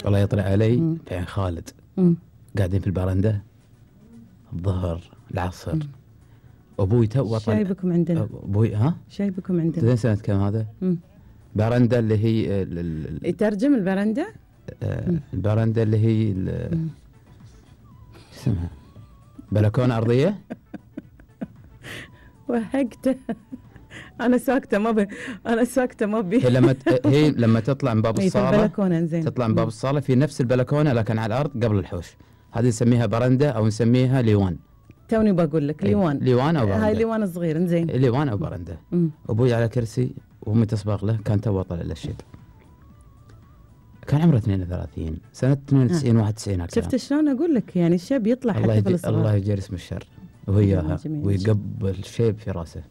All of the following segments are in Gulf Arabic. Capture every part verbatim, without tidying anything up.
الله يطلع علي في عين خالد. مم. قاعدين في البرندة الظهر العصر. مم. ابوي تو شايبكم عندنا. ابوي ها شايبكم عندنا. زين سنة كم هذا؟ مم. برندة اللي هي ال ال يترجم البرندة؟ آه البرندة اللي هي اسمها بلكونة أرضية. وهقته أنا ساكتة ما بي أنا ساكتة ما بي هي لما ت... هي لما تطلع من باب الصالة تطلع من باب الصالة في نفس البلكونة لكن على الأرض قبل الحوش. هذه نسميها برندة أو نسميها ليوان. توني بقول لك ليوان. ليوان أو برندة. هاي ليوان صغير إنزين. ليوان أو برندة. أبوي على كرسي وأمي تسبق له كان تو طلع للشيب. كان عمره اثنين وثلاثين سنة اثنين وتسعين واحد وتسعين. شفت شلون أقول لك يعني الشاب يطلع حتى في الصغار. الله يجير اسم الشر وهيها ويقبل شيب في راسه.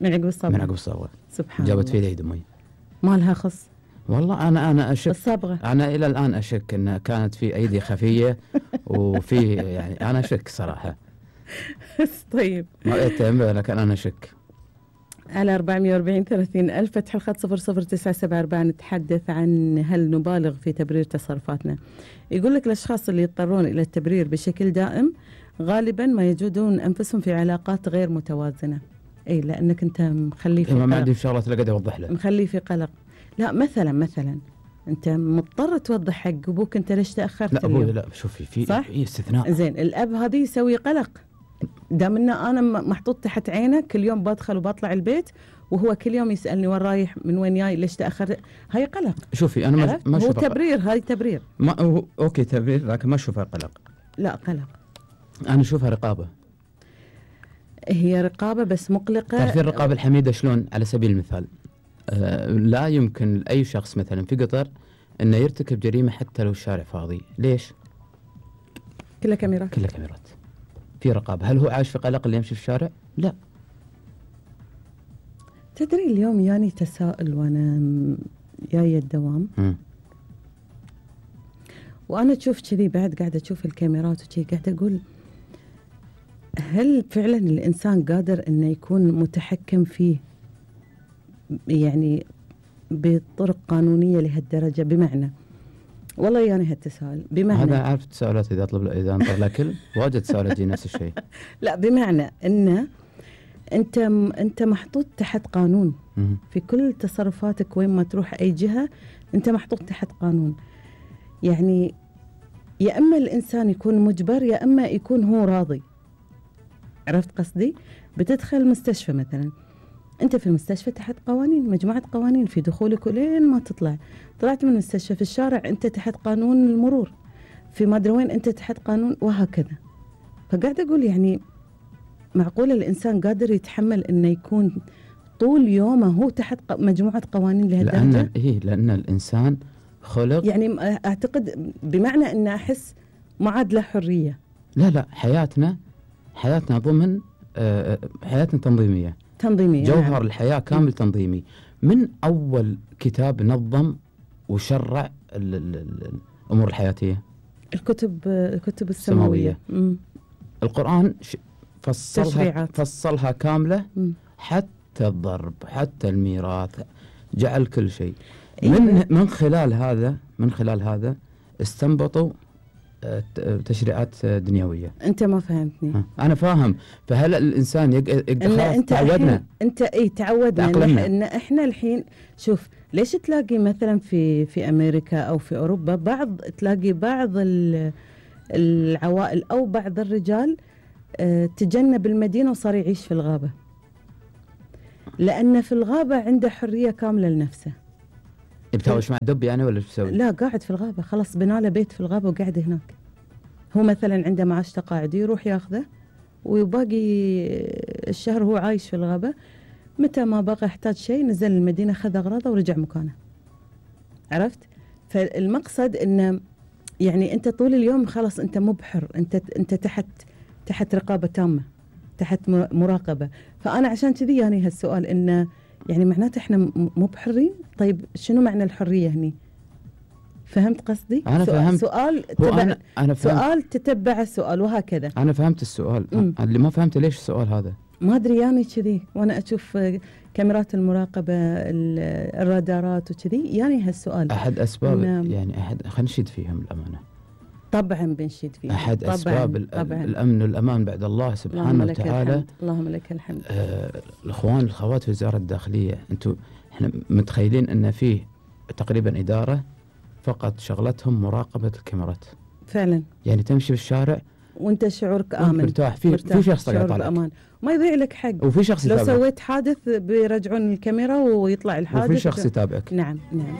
من عقب الصبغة. من عقب الصبغة. سبحان الله. جابت في يد أمي. ما لها خص. والله أنا أنا أشك. الصبغة. أنا إلى الآن أشك إن كانت في أيدي خفية وفي يعني أنا أشك صراحة. طيب. ما أتهم لكن أنا أشك. على أربعمية وأربعين ثلاثين ألف فتح الخط صفر صفر تسعة سبعة أربعة نتحدث عن هل نبالغ في تبرير تصرفاتنا. يقول لك الأشخاص اللي يضطرون إلى التبرير بشكل دائم غالبا ما يجدون أنفسهم في علاقات غير متوازنة. أي لأنك أنت مخليه في قلق. ما عندي شغلات لقد أوضح له. مخليه في قلق. لا مثلا مثلا أنت مضطر توضح حق أبوك أنت ليش تأخرت. لا أبوي لا شوفي في في استثناء. زين الأب هذه يسوي قلق. دام ان انا محطوط تحت عينه كل يوم بدخل وبطلع البيت وهو كل يوم يسالني وين رايح من وين جاي ليش تاخر. هاي قلق. شوفي انا ما ما هو تبرير. هاي تبرير. ما هو اوكي تبرير لكن ما اشوفها قلق. لا قلق. انا اشوفها رقابه. هي رقابه بس مقلقه. تعرفين الرقابه الحميده شلون؟ على سبيل المثال آه لا يمكن لاي شخص مثلا في قطر انه يرتكب جريمه حتى لو الشارع فاضي. ليش؟ كلها كاميرات. كلها كاميرات. في رقابة. هل هو عايش في قلق اللي يمشي في الشارع؟ لا. تدري اليوم ياني تساؤل وانا جاية الدوام م. وانا تشوف كذي بعد قاعدة اشوف الكاميرات وكذي قاعدة اقول هل فعلا الانسان قادر انه يكون متحكم فيه يعني بطرق قانونية لهالدرجة؟ بمعنى والله يعني هالتساؤل بمعنى هذا عارف التساؤلات اذا اطلب اذا انطر الاكل واجد تساؤلات نفس الشيء. لا بمعنى انه انت انت محطوط تحت قانون في كل تصرفاتك وين ما تروح اي جهه انت محطوط تحت قانون. يعني يا اما الانسان يكون مجبر يا اما يكون هو راضي. عرفت قصدي؟ بتدخل مستشفى مثلا انت في المستشفى تحت قوانين مجموعه قوانين في دخولك ولين ما تطلع. طلعت من المستشفى في الشارع انت تحت قانون المرور في ما ادري وين انت تحت قانون وهكذا. فقاعد اقول يعني معقول الانسان قادر يتحمل انه يكون طول يومه هو تحت مجموعه قوانين لهالدرجه؟ لان ايه لان الانسان خلق يعني اعتقد بمعنى ان احس معادله حريه. لا لا حياتنا حياتنا ضمن آه حياتنا تنظيميه. تنظيميه. جوهر نعم. الحياه كامل تنظيمي. من اول كتاب نظم وشرع ال ال ال الامور الحياتيه؟ الكتب الكتب السماويه. السماويه. القران فصلها تشريعات. فصلها كامله. م. حتى الضرب حتى الميراث جعل كل شيء. إيه من من خلال هذا من خلال هذا استنبطوا تشريعات دنيويه. انت ما فهمتني. انا فاهم. فهل الانسان يقدر انت تعودنا انت اي تعودنا ان احنا الحين شوف ليش تلاقي مثلا في في امريكا او في اوروبا بعض تلاقي بعض العوائل او بعض الرجال تجنب المدينه وصار يعيش في الغابه لان في الغابه عنده حريه كامله لنفسه. يبتهوش مع الدب يعني ولا ايش يسوي؟ لا قاعد في الغابه خلاص بنى له بيت في الغابه وقاعد هناك. هو مثلا عنده معاش تقاعدي يروح ياخذه وباقي الشهر هو عايش في الغابه. متى ما بقى يحتاج شيء نزل المدينه خذ اغراضه ورجع مكانه. عرفت؟ فالمقصد انه يعني انت طول اليوم خلاص انت مو بحر انت انت تحت تحت رقابه تامه تحت مراقبه. فانا عشان كذي يعني هالسؤال انه يعني معناته احنا مو بحرين. طيب شنو معنى الحريه هني؟ فهمت قصدي؟ أنا سؤال فهمت. سؤال تبع أنا أنا سؤال تتبع السؤال وهكذا. أنا فهمت السؤال. م. اللي ما فهمت ليش السؤال هذا. ما ادري يعني كذي وانا اشوف كاميرات المراقبه الرادارات وكذي، يعني هالسؤال احد اسباب يعني احد خلينا نشيد فيهم الامانه. طبعا بنشيد فيهم. احد طبعًا اسباب طبعًا الامن والامان بعد الله سبحانه وتعالى. اللهم لك الحمد. آه الاخوان الخوات في وزاره الداخليه، انتم احنا متخيلين ان فيه تقريبا اداره فقط شغلتهم مراقبه الكاميرات. فعلا. يعني تمشي في الشارع وانت شعورك امن مرتاح، في في شخص قاعد يطالعك، امان ما يضيع لك حق، وفي شخص لو يتابعك. سويت حادث بيرجعون الكاميرا ويطلع الحادث، وفي شخص يتابعك. نعم نعم.